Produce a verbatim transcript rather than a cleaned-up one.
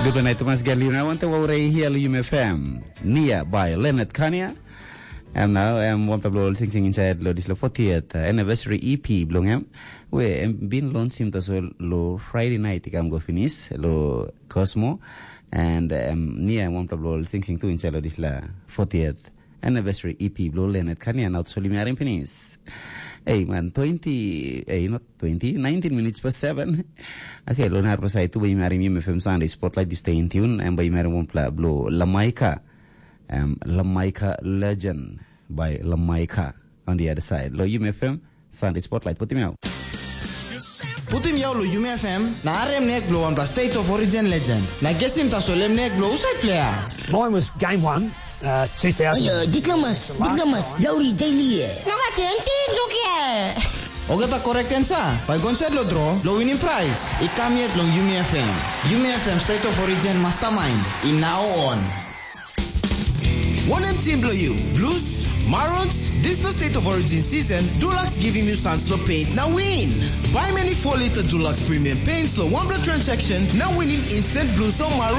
Gutpela nait Thomas Galina, wantaim ol rei hia lo Yum F M. Nia by Leonard Kania. Em nau em wanpela bilong ol singsing inside lo dispela fortieth uh, anniversary E P bilong em. We em bin launch him tasol lo Friday night i kam go finis lo Cosmo. And em Nia em wanpela bilong ol singsing tu inside lo dispela fortieth anniversary E P bilong Leonard Kania nau tasol yumi harim finis. Ei man, twenty, ei not twenty, nineteen minutes past seven. Okay, lo narapela sait tu bai yumi harim Yum F M Sunday Spotlight, you stay in tune, em bai yumi harim wanpela bilong Lamaika, em Lamaika Legend by Lamaika on the other side. Lo Yum F M Sunday Spotlight, putim yau. Putim yau lo Yum F M, na harim nek bilong wanpela State of Origin Legend. Na gesim tasol em nek bilong husat player. Mine was game one, uh, two thousand. Oi, oi, diplomas, diplomas, lauri daily e. Nogat en tin lukia. Olgeta correct answer, bai go inside lo draw, lo winning prize. I kam yet long Yumi F M. Yumi F M State of Origin Mastermind, i now on. Wanem tim bilong yu? Blues? Marons? Dis na State of Origin season, Dulux givim yu sans lo paint na win. Baim eni four liter Dulux Premium Paints lo wanpela transaction na winim instant Blues o Marons